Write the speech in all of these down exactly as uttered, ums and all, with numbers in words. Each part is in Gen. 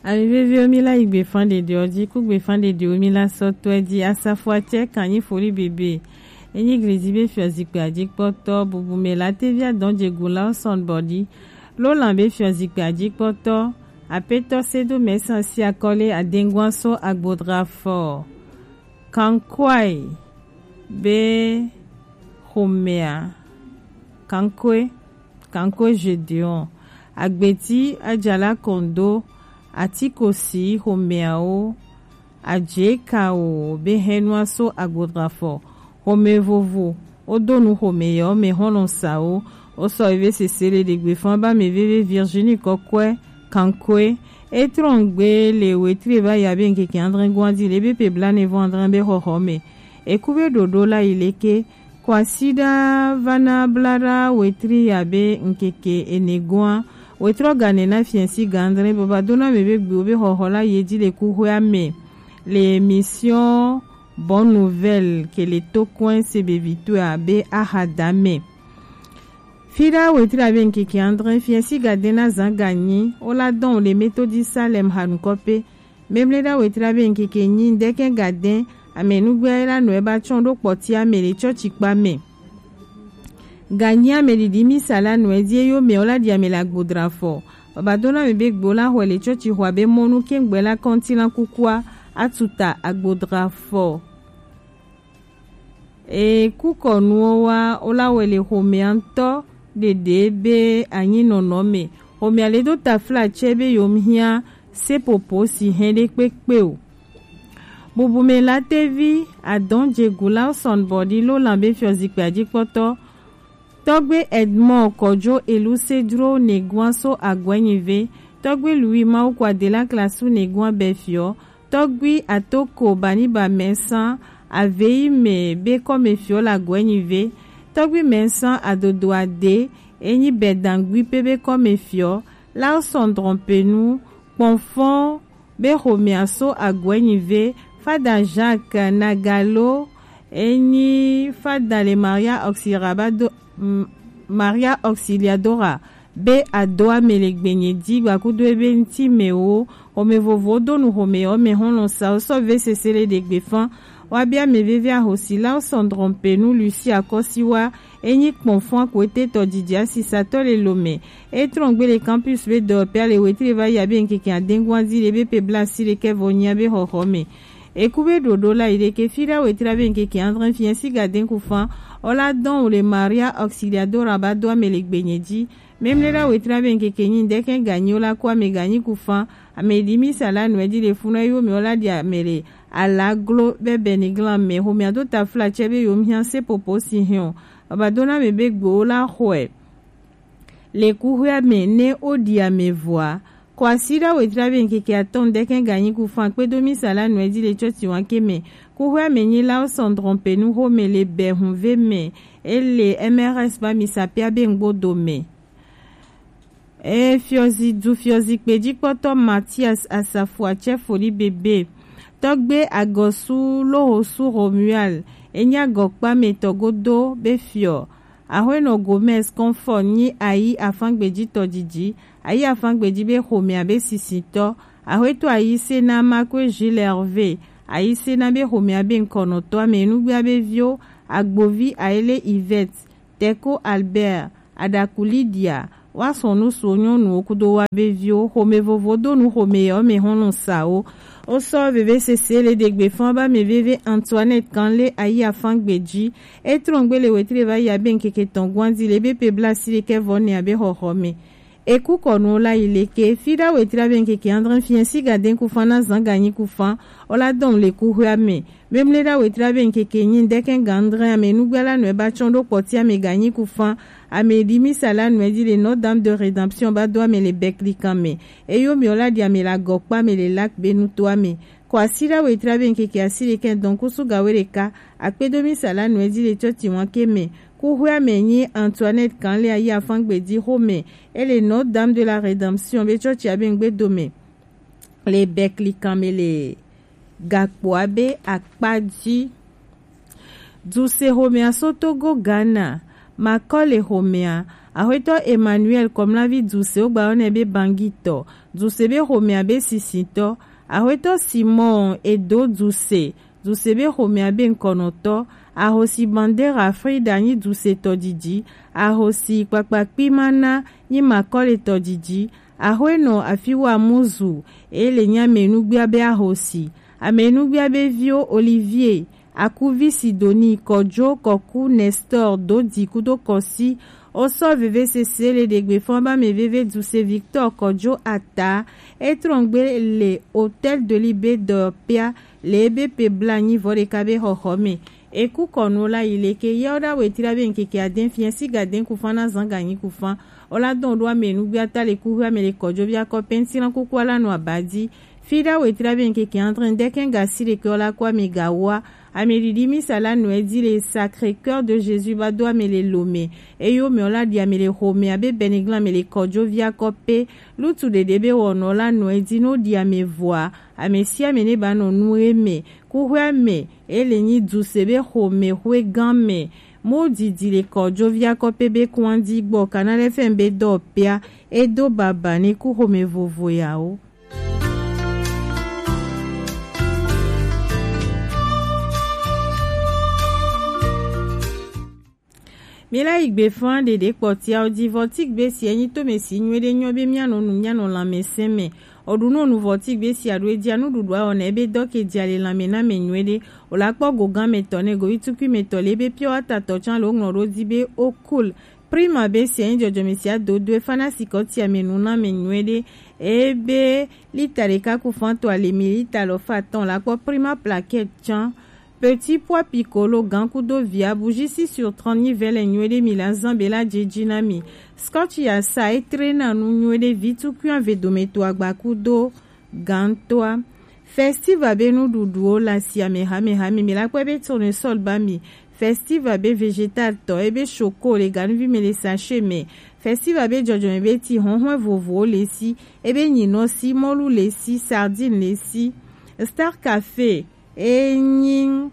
Ami veviwo, mi la yi gbefan ɖeɖewo ji, ku gbefan ɖeɖewo mi la sɔ tɔɛ ji. Asafoatsɛ Kanyi Foli Bebe, enyi glezi be fiɔ zikpui ajikpɔtɔ, bubu me la tevi adɔn jegu la o sɔn bɔdi, lo lan be fiɔ zikpui ajikpɔtɔ, apetɔ sedo mɛsan si akɔle adengua so agbodra fɔ. Kankwai be xomea, Kankwai, Kankwai Gedeon, Agbeti Ajala Kondo, Atikosi xomeawo, Ajekawo be hɛnua so agbodra fɔ, xome vovo, wo do nu xome yɔ me xɔlɔ sawo, wo sɔ eve sese le ɖegbe fan ba me veve Virginie Kɔkwɛ, Kankwɛ, e trɔn gbe le wetri va ya be nkeke andre guandi le be pe bla ne vɔ andre be xɔxɔ me. Eku be ɖoɖo la yi leke, Kwasiɖa va na blaɖa wetri ya be nkeke ene gɔa, wetrɔ gane na fiɛnsi gandre baba dona me be gbiwo be xɔxɔ la ye ji le kuxoea me le émission Bonne Nouvelle ke le tokɔn se be vitɔa be ahada me. Fiɖa wetri ya be nkeke andre fiɛnsi gade na zan ganyi, o la dɔn le metodi Salem hanukɔ pe, Memleɖa wetri ya be nkeke nyi ŋdɛkɛ gadɛn, ame nugbe la nɔɛ ba tsɔn ɖo kpɔti ame le tsɔtsi kpa me. Ganyi ame ɖiɖi mi sa la nɔɛ die yo me o la ɖi ame le agbodra fɔ. Baba dona me be gbo la xɔɛ le tsɔtsi xɔ abe mɔnu kengbe la kɔnti la kukua atuta agbodra fɔ. E kukɔnuwo wa o la wɛ le xomea ŋutɔ ɖeɖe be anyi nɔnɔ me. Xomea le do tafla tsɛ be yom hiã sepopo si hɛn ɖe kpekpe o. Bubu me la tevi adɔn jegu la sɔn bɔdi lo lan be fiɔ zikpui ajikpɔtɔ. Tɔgbe Edmond Kɔdzo Elu Sedro Negua so Agɔɛnyive, Tɔgbe Louis Mawu Kwadela Klasu Negua Bɛfiɔ, Tɔgbe Atoko Baniba Mɛsan Aveyi mɛ be kɔmefiɔ la Agɔɛnyive, Tɔgbe Mɛsan Adodo Ade enyi Bɛdangui pe be kɔmefiɔ, Lawson Drɔnpenu Kpɔnfɔn be xomea so Agɔɛnyive, Fada Jacques Nagalo enyi Fada le Maria Auxiliadora do, m-, Maria Auxiliadora be adoa me le gbenye di gbakudo ebe ŋti me wo, xome vovo do nu xome yɔ me xɔlɔ sa wo sɔ ve sese le ɖegbe fan. Wa bia me veve ahosi la wo sɔn drɔnpenu Lucie Akɔsiwa, enyi kpɔnfɔn akuete tɔ didi asisatɔ le lo me. E trɔn gbe le campus be dɔyɔpia le wetri va ya be nkeke adengu adi le be pe bla si le kɛ vɔ nyia be xɔxɔ me. Eku be ɖoɖo la yi ɖeke fiɖa wetri be nkeke andre fiɛ si gaden ku fan. O la dɔn wo le Maria Auxiliadora ba do ame le gbenye di. Memleɖa wetri be nkeke nyi ŋdɛkɛ ganyi o la ku ame ganyi ku fan. Ame ɖi mi sa la nɔɛ di le funɔ yo me o la ɖi ame le ala glo be bɛniglan me xomea do tafla tsɛ be yo mi hiã se popo si hiɔ. Baba dona me be gbo o la xɔɛ. Le kuxoea me ne o ɖi ame vɔa. Kɔ asi ɖa wetri be nkeke atɔn ŋdɛkɛ ganyi ku fan kpedo mi sa la nɔɛ di le tsɔtsi wanke me. Kuxoea me nyi la o sɔn drɔnpenu xome le bɛ hunve me. E le M R S ba mi sapia be ŋgbo do me. E fiɔzi du fiɔzi kpejikpɔtɔ Mathias Asafua tsɛ foli bebe. Tɔgbe Agɔsu Lohosu Romual, enyi agɔkpa me tɔ godo be fiɔ. Axwenɔ Gomez Kɔnfɔ nyi ayi afangbeji tɔ didi, ayi afangbeji be xomea be sisitɔ. Axweto ayi sena Makwe Gilles Hervé, ayi sena be xomea be ŋkɔnɔtɔ ame nugbea be vio, agbovi ayele Yvette, Teko Albert, Adaku Lydia, wa sɔn nu so nyɔnuwo kudo wa be viwo, xome vovo do nu xome yɔ me hɔnlɔn sawo. O sɔ veve sese le ɖegbe fan ba me veve Antoinette kan le ayi afangbeji. E trɔn gbe le wetri va ya be nkeke tɔn guandi le be pe bla si le kɛ vɔ ne abe xɔxɔ me. Eku kɔnu la yi leke, fiɖa wetri be nkeke andre fiɛ si gaden ku fan na zan ganyi ku fan. O la dɔn le kuxoea me. Memleɖa wetri be nkeke nyi ŋdɛkɛ gandre ame nugbea la nɔɛ ba tsɔn ɖo kpɔti ame ganyi ku fan. Ame ɖi mi sa la nɔɛ di le Notre Dame de Rédemption ba do ame le bɛklikan me. Eyo mi o la ɖi ame la gɔkpa me le lac be nutoa me. Kɔ asi ɖa wetri be nkeke asi le kɛ dɔn kusu gawe ɖeka. Akpedo mi sa la nɔɛ di le tsɔtsi wanke me. Kuxoea me nyi Antoinette kan le ayi afangbeji xome. E le Notre Dame de la Rédemption be tsɔtsi abe ŋgbe do me. Le bɛklikan me le gakpo abe akpa ji. Duse xomea so Togo Ghana, Makɔle xomea, Axwetɔ Emmanuel Kɔmlavi Duse, wogba yɔ nɛ be Bangitɔ. Duse be xomɛ abe sisitɔ. Axwetɔ Simon Edo Duse, Duse be xomɛ abe ŋkɔnɔtɔ. Ahosi Bandera Frida nyi Duse tɔdidi. Ahosi Kpakpakpimana nyi Makɔle tɔdidi. Axwenɔ Afiwa Muzu, e le nyi ame nugbia be ahosi. Ame nugbia be viwo Olivier, Akuvi Sidoni, Kɔjo, Kɔku, Nestor, Dodi kudo Kɔsi. Osɔ veve sese le ɖegbe fɔn ba ame veve Duse Victor Kɔjo Ata. E trɔngbe le Hôtel de Libé dɔyɔpia le ebe pe blanyi vɔ ɖeka be xɔxɔ me. Eku kɔnu la yi leke yɛ o ɖa wetri abe ŋkeke adɛn fiɛ si gadɛn kufan na zan ganyi kufan. O la dɔn ɖo ame nugbe ata le kuhu ame le kɔjo via kɔ pɛnti na kuku ala nu abadi. Fi ɖa wetri abe ŋkeke andre ŋdɛkɛn gasi ɖeke o la kɔ ame gawoa. Ame ɖiɖi misa la nɔɛ di le Sacré Cœur de Jésus ba do ame le Lomé. Eyo mɛ o la ɖi ame le xomɛ abe bɛniglan ame le kɔjo via kɔ pe. Lutu ɖeɖe be wɔnɔ la nɔɛ di no ɖi ame voa. Ame sia ame ne ba nɔ nu e mɛ. Kuhu ame e le nyi Duse be xomɛ xwe gan mɛ. Mo didi le kɔjo via kɔ pe be kuan di gbɔ kana ɖe fɛn be dɔ pia. E do baba ne ku xomɛ vovo yawo. Mi la yi gbe fɔn ɖeɖe kpɔtiawo di vɔ ti gbe si enyi to me si nyuie ɖe nyɔ be mianɔ nu mianɔ lãmesẽ me. Oɖu nɔ nu vɔ ti gbe si aɖo edia nuɖuɖu awɔ na ebe dɔ ke dia le lãme na me nyuie ɖe. O la kpɔ gogan me tɔ ne govi tukui me tɔ le ebe pure water tɔ can lo ŋlɔ ɖo di be o cool. Prima be si enyi dzɔdzɔme si ado do efa na sikɔ tia me nu na me nyuie ɖe. Ebe lita ɖeka ku fan to alimi lita lɔ fa tɔn la kpɔ prima plaquette can. Petit pois piccolo gan kudo via bougie six sur trente nyi vɛ le nyuie ɖe mi la zan be la djidji na mi. Scotch ya sa e tre na nu nyuie ɖe vi tukui ave dome to agba kudo gan toa. Festival be nuɖuɖuwo la si ame hame hame mi la kpɔ be tournesol ba mi. Festival be végétal tɔ ebe choco le ganuvi me le sachet me. Festival be dzɔdzɔme be ti hɔnhɔn vovowo le si ebe nyinɔ si mɔlu le si sardine le si. Star Café e nyi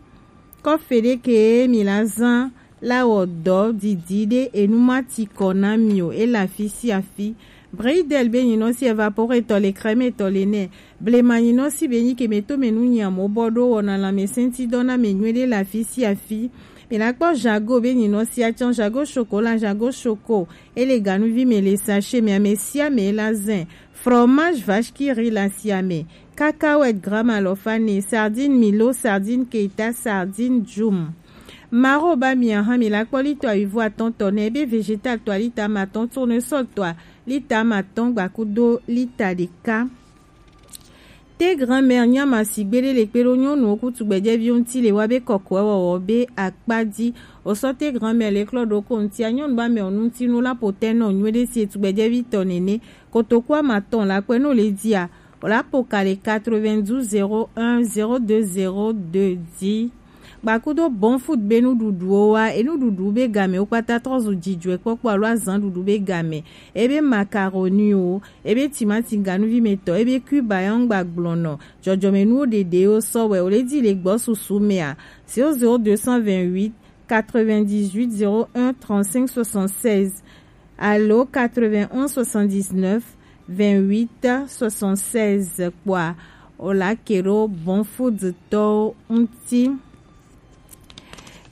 kɔfe ɖe ke mi la zan la wɔ dɔ didi ɖe enu ma ti kɔ na mi o e le afi si afi. Bridel be nyinɔ si evapore tɔ le crème tɔ le nɛ. Blema nyinɔ si be nyi ke me to me nu nyi amo bɔ ɖo wɔna lãmesẽti dɔ na me nyuie ɖe le afi si afi. Mi la kpɔ jago be nyinɔ si atsɔ jago chocolat jago choco e le ganuvi me le sachet me ame sia ame la zɛn. Fromage vache qui rit la si ame. Cacahuète gramme alɔfa ne, sardine Milo, sardine Keita, sardine Jum. Maro ba mi ahan mi la kpɔ lita awivo atɔn tɔ nɛ ebe végétal tɔ lita amatɔn tournesol tɔ lita amatɔn gbakudo lita ɖeka. Te grand-mère nyama sigbe ɖe le kpe ɖo nyɔnuwo ku tugbɛjɛviwo ŋuti le wa be kɔkɔɛ wɔwɔ be akpa di. Osɔ te grand-mère le klɔ ɖo ko ŋutia nyɔnu ba mɛ o ŋuti nu la potɛ nɔ nyuie ɖe si tugbɛjɛvi tɔ nene. Kotoku amatɔn la kpɛ no le dia. O la po ka le quatre-vingt-douze zéro un zéro deux zéro deux di. Gbakudo bon food be nuɖuɖuwo wa, enuɖuɖu be game wo kpata trɔ zu dzidzɔe kpɔkpɔ alo azan ɖuɖu be game. Ebe macaroni o, ebe timati ganuvi me tɔ, ebe cuba ya ŋgba gblɔnɔ. Dzɔdzɔme nuwo ɖeɖe wo sɔ wɛ, o le di le gbɔ susu mea. Zéro zéro deux cent vingt-huit quatre-vingt-dix-huit zéro un trente-cinq soixante-seize. Alo quatre-vingt-onze soixante-dix-neuf vingt-huit soixante-seize kpɔa, o la ke ɖo bon food tɔwo ŋuti.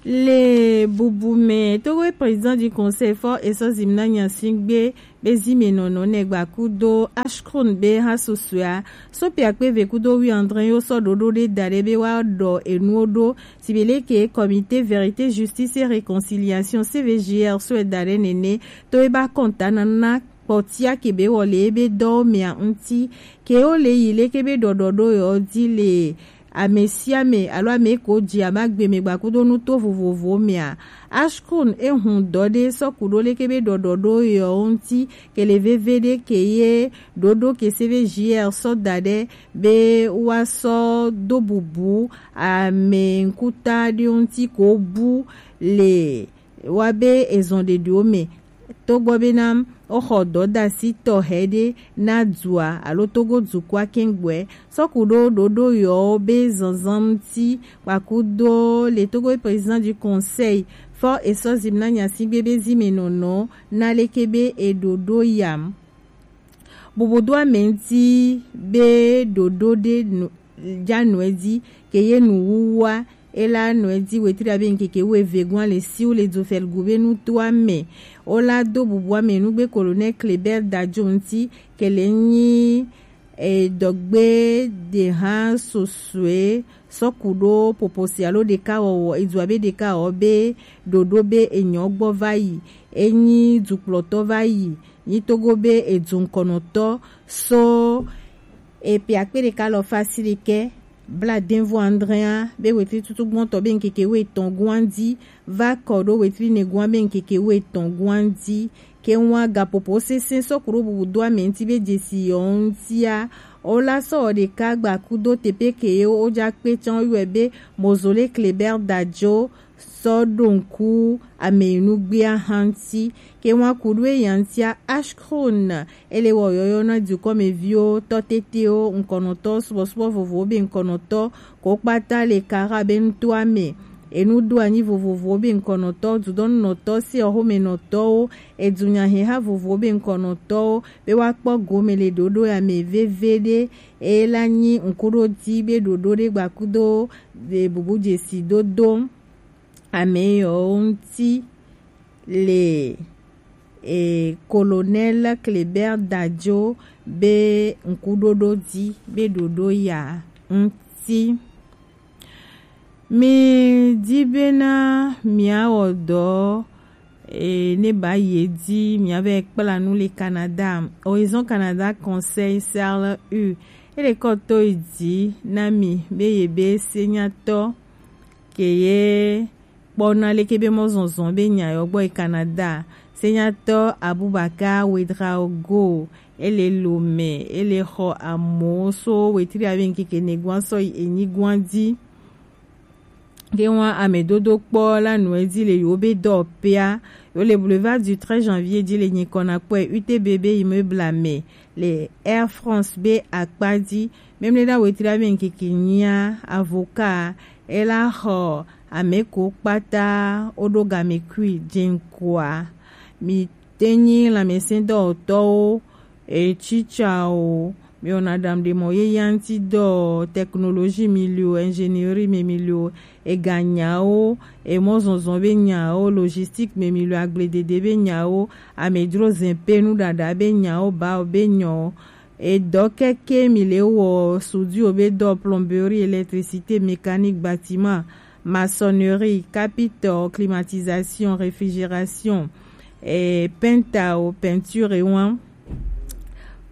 Le bubu me, Togo président du conseil fɔ esɔ zim na nya sigbe be zi me nɔnɔ ne gba kudo Ashkron be ha susua. Sopi akpe ve kudo wi andre yo sɔ ɖoɖo ɖe da ɖe be wa ɖɔ enuwo ɖo. Sibe leke Comité Vérité, Justice et Réconciliation, C V J R, sɔe da ɖe nene, to eba kɔnta nana kpɔtia ke be wɔ le ebe dɔwo mea ŋuti, ke wo le yi leke be ɖɔɖɔ ɖo yɔ di le ame sia ame alo ame ko dzi ame agbe me gbakudo nuto vovovowo mea. Ashkron ehun dɔ ɖe sɔ ku ɖo leke be ɖɔɖɔ ɖo yɔ ŋuti, ke le veve ɖe ke ye ɖoɖo ke C V J R sɔ da ɖe be wa sɔ do bubu ame ŋkuta ɖewo ŋuti ko bu le wa be ezɔn ɖeɖewo me. Togbɔ bena woxɔ dɔdasi tɔxɛ ɖe na dua alo Togo dukɔa kɛngbɔɛ, sɔku ɖo ɖoɖo yɔwo be zanzan ŋuti, kpakudo le Togo be président du conseil fɔ esɔ zim na nyasigbe be zime nɔnɔ na leke be eɖoɖo yam. Bubudoamɛ ŋuti be ɖoɖo ɖe nu- ja nɔɛ di ke ye nuwuwua ela nɔɛ di wetri abe ŋkeke wueve gɔa le siwu le dzofɛlgu be nutoa mɛ. Wola do bubuamɛ nugbe Colonel Kleber Dajo ŋuti ke le nyi e, dɔgbe ɖe hã sosɔe sɔku ɖo poposi alo ɖeka wɔwɔ edu abe ɖeka wɔ be ɖoɖo be enyɔ gbɔ va yi, enyi dukplɔtɔ va yi, nyi Togo be edu ŋkɔnɔtɔ so epe akpe ɖeka lɔ fa si ɖekɛ bla denvo andrea be wetri tutu gbɔntɔ be ŋkeke wo etɔn guan di va kɔ ɖo wetri ne guan be ŋkeke wo etɔn guan di ke ŋua gapopo sese sɔku ɖo bubu do amɛ ŋti be dzesi yɔ ŋtia o la sɔ wɔ ɖeka gba kudo tepe ke ye o dza kpe tsã o yɔe be mozole kleber dadzo sɔ ɖo ŋku ameyinu gbea hã ŋti ke ŋua kuɖo eya ŋtia ashkron ele wɔ yɔyɔ na dukɔmeviwo tɔtetewo ŋkɔnɔtɔ subɔsubɔ vovowo be ŋkɔnɔtɔ ko kpata le kara be ŋtoa me enu do anyi vovovowo be ŋkɔnɔtɔ dudɔnunɔtɔ se xɔxomɛnɔtɔwo edunya heha vovowo be ŋkɔnɔtɔwo be woakpɔ gome le ɖoɖo ya me veveɖe eye la nyi ŋkuɖodi be ɖoɖo ɖe gbakudo be bubu dzesi dodo ame yawo ŋuti le e, Colonel Kleber Dadzo be ŋkuɖoɖo di be ɖoɖo ya ŋuti. Mi di bena miawɔ dɔ e, ne ba ye di miavɛ kpla nu le Canada. Horizon Canada Conseil Serle U ele kɔ to yi di na mi be ye be senyatɔ ke ye kpɔna leke be mɔzɔzɔ be nya yɔ gbɔ yi Canada. Senyatɔ Abubakar Ouedraogo ele lome ele xɔ amewo so wetri abe ŋkeke nɛgua sɔ yi enyigua di. Ke ŋua amedodo kpɔ la nɔe di le yewo be dɔwɔƒea. Yewo le Boulevard du treize janvier di le nyikɔ na kpɔe U T B be immeuble me le Air France be akpa di. Memle ɖa wetri abe ŋkeke nyia avocat ela xɔ ame ko kpata woɖo game kui dzeŋkɔa. Mi te nyi lãmesẽdɔwɔtɔwo, etsitsawo, miwɔna ɖaŋɖemɔ yeyea ŋuti dɔ, technologie milieu, ingénierie me milieu, eganyawo, emɔzɔzɔ be nyawo, logistique me milieu, agbledede be nyawo, amedzro zɛpe nuɖaɖa be nyawo, bawo be nyɔwo. Edɔ keke mi le wɔ soudure be dɔ, plomberie, électricité, mécanique, bâtiment, maçonnerie, carpinterie, climatisation, réfrigération, eh, peinture, peinture wan,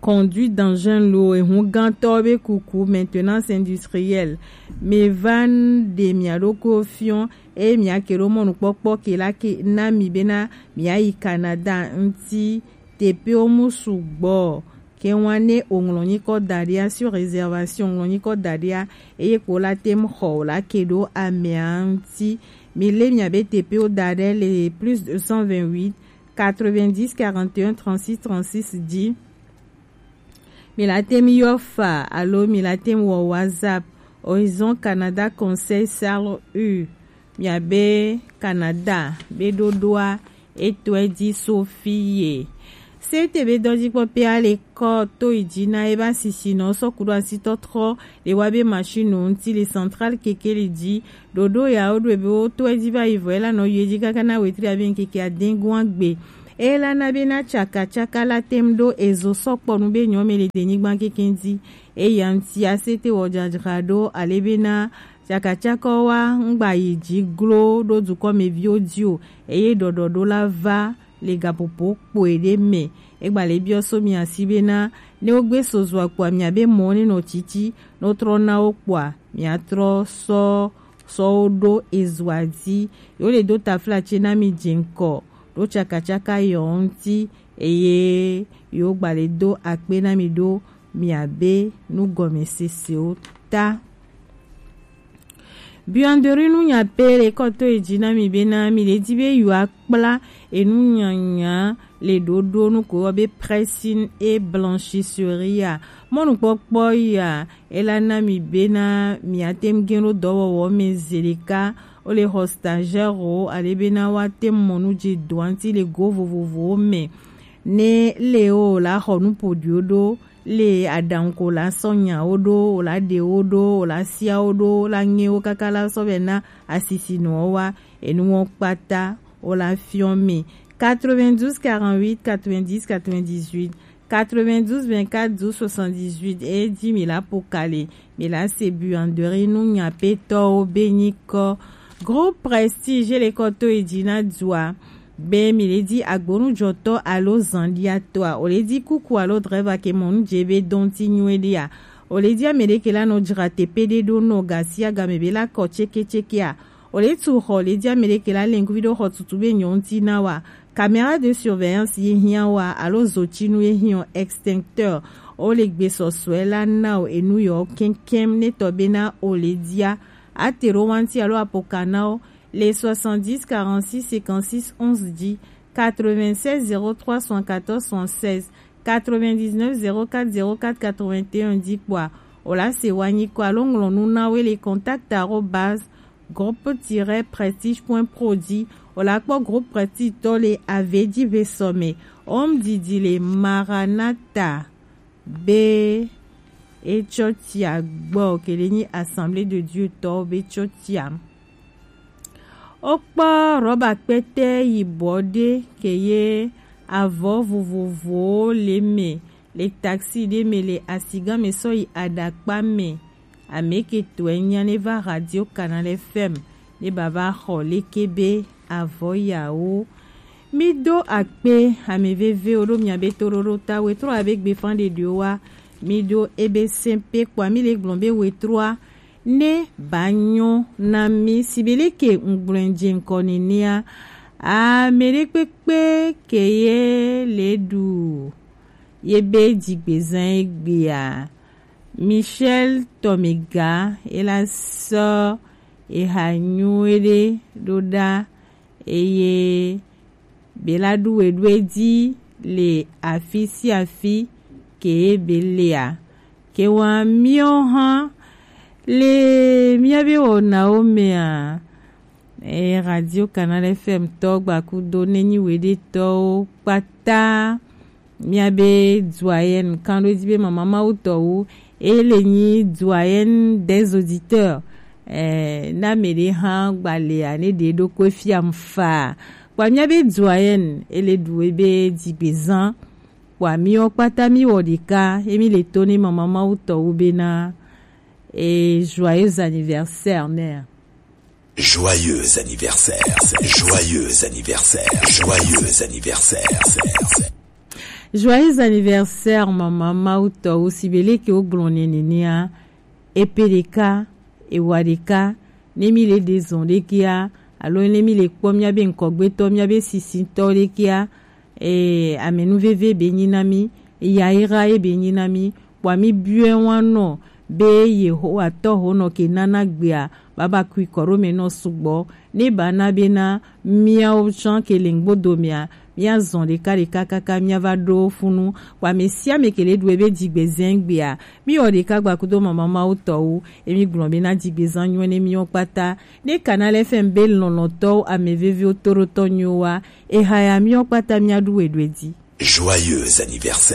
conduite d'engin lourd, ehun gãtɔ be kuku, maintenance industrielle. Mi va ɖe mia ɖokui fiɔ eye mia ke ɖo mɔnukpɔkpɔ ke la ke na mi bena mia yi Canada ŋuti teƒewo mu sugbɔ. Ke ŋua ne o ŋlɔ nyikɔ da ɖia sur réservation, ŋlɔ nyikɔ da ɖia eye kpo la tem xɔ o la ke ɖo amea ŋuti. Mi le mia be teƒewo da ɖe le plus de cent vingt-huit, quatre-vingt-dix, quarante et un, trente-six, trente-six di. Mi la tem yɔ fa alo mi la tem wɔ WhatsApp. Horizon Canada Conseil Sarl U. Miabe Canada be ɖoɖoa etɔe di so fiye. Sete be dɔdzikpɔkpɔa le kɔ to yi dzi na ebe asisinɔ sɔkuɖo asitɔtrɔ le wa be machine ŋuti le central kekeli dzi. Ɖoɖo ya woɖo ebe wotɔe di va yi vɔ ela nɔ yi edzi kaka na wetri abe ŋkeke adegoa gbe. Ela na be na tsakatsaka la tem ɖo ezo sɔkpɔ nu be nyɔ me le denyigba keke ŋti. Eya ŋti asete wɔ dzadzraɖo ale be na tsakatsakawo wa ŋgba yi dzi glo ɖo dukɔmeviwo dzi o, eye ɖɔɖɔɖo la va le gaƒoƒo kpɔe ɖe me. Egba le biɔ so mia si bena ne wogbe so zua kpɔa miabe mɔ ne nɔ tsitsi ne wotrɔ na wo kpɔa miatrɔ sɔ sɔ wo ɖo ezua dzi. Yewo le do taflatse na mi dze ŋkɔ ɖo tsakatsaka yewo ŋti eye yewo gba le do akpe na mi ɖo miabe nugɔmesesewo ta. Buanderie nu nya pe le kɔto e ji na mi be na mi le di be yua kpla enu nyanya le ɖoɖo nu ko yɔ be pressing et blanchisserie a. Mɔnukpɔkpɔ ya e la na mi be na mi ate ŋu gɛn ɖo dɔwɔwɔ me zeleka o le xɔ stagiaire o ale be na wa te mɔ nu je do anti le go vovovowo me. Ne le o la xɔ nu ƒoɖiwo ɖo le aɖaŋu ko la sɔ nyawo ɖo, o la ɖe wo ɖo, o la sia wo ɖo, o la ŋe wo kaka la sɔ bɛ na asisinɔwo wa enuwo kpata o la fiɔ mi. Quatre-vingt-douze quarante-huit quatre-vingt-dix quatre-vingt-dix-huit, quatre-vingt-douze vingt-quatre douze soixante-dix-huit e di mi la pokale mi la se buanderie nu nyapetɔwo be nyikɔ. Groupe Prestige le kɔto e di na dua be mi le di agbonujɔtɔ alo zanɖiatɔa, o le di kuku alo drɛva ke mɔ nu je be dɔnti nyuie ɖea, o le di ame ɖe ke la nɔ jra tepe ɖe ɖo nɔ gasiagame be la kɔ cekecekea, o le tu xɔ, o le di ame ɖe ke la le ŋkuvi ɖo xɔ tutu be nyɔ ŋuti na wa. Caméra de surveillance ye hiã wa alo zocinu ye hiã extincteur, o le gbe sɔsɔe la na o enu yɔ kɛnkɛn ne tɔ be na o le dia. Ate ɖo wanti alo apoka na o le soixante-dix quarante-six cinquante-six onze dix, quatre-vingt-seize zéro trois soixante-quatorze soixante-seize, quatre-vingt-dix-neuf zéro quatre zéro quatre quatre-vingt-un dix kpɔa, o la se wa nyikɔ alo ŋlɔ nu na we le contact arobase groupe-prestige.pro dzi. O la kpɔ groupe Prestige tɔ le ave dzi ve sɔme. Om didi le Maranatha be etsɔ tia gbɔ ke le nyi Assemblée de Dieu tɔ be tsɔ tia. Wokpɔ rɔba kpɛtɛ yibɔ ɖe ke ye avɔ vovovowo le me le taxi ɖe me le asigã me sɔ yi aɖakpa me. Ame ke tɔe nya ne va Radio Canal F M ne bava xɔ leke be avɔ yawo. Mi do akpe ame vevewo ɖo miabe toɖoɖo ta wetrɔ abe gbefan ɖeɖewo wa. Mi do ebe sɛnpe kpɔa mi le gblɔ be wetrɔa ne ba nyɔ na mi si be leke ŋgblɔe dze ŋkɔ nenea. Ame ɖe kpekpe ke ye le ɖu ye be dzigbezã egbea. Michel Tomega ela sɔ eha nyuie ɖe ɖo ɖa eye bela ɖu weɖue dzi le afi sia afi ke belea. Ke wa miɔ hã le miabe wɔnawo mea, e Radio Canal F M tɔ gbakudo nenyi weɖetɔwo kpata. Miabe doyenne kan ɖo edzi be mama Mawu tɔwu eye le nyi doyenne des auditeurs. Eh, na me ɖe hã gbalea ne ɖe ɖo ko fiam fa kpɔa miabe doyenne ele ɖu ebe dzigbezã kpɔa miwo kpata mi wɔ ɖeka emi le to ne mama Mawu tɔwu bena, eh, joyeux anniversaire nea. Joyeux anniversaire, joyeux anniversaire, joyeux anniversaire. Joyeux anniversaire, mama Mawu tɔwu si be leke wo gblɔ ne nenea, epe ɖeka, ewa ɖeka, ne mi le ɖe zɔn ɖekea, alo ne mi le kpɔ miabe ŋkɔgbetɔ, miabe sisitɔ ɖekea, eh, amenuveve be nyi na mi, yayra ye be nyi na mi, kpɔa mi biɔe wa nɔ be Yehowa tɔ ho nɔ ke nana gbea baba kui kɔɖo me nɔ sugbɔ ne ba na be na miawo tsã ke le ŋgbodo mea mia zɔn ɖeka ɖeka kaka mia va ɖo funu kpɔa me sia me ke le ɖu ebe dzigbezɛ gbea mi wɔ ɖeka gba kudo mama Mawu tɔwo emi gblɔ be na dzigbezã nyuie ne miawo kpata ne Canal F M be lɔlɔtɔwo ame veviwo toɖotɔ nyuie wa Ehaya miwo kpata miaɖu we ɖu edzi. Joyeux anniversaire.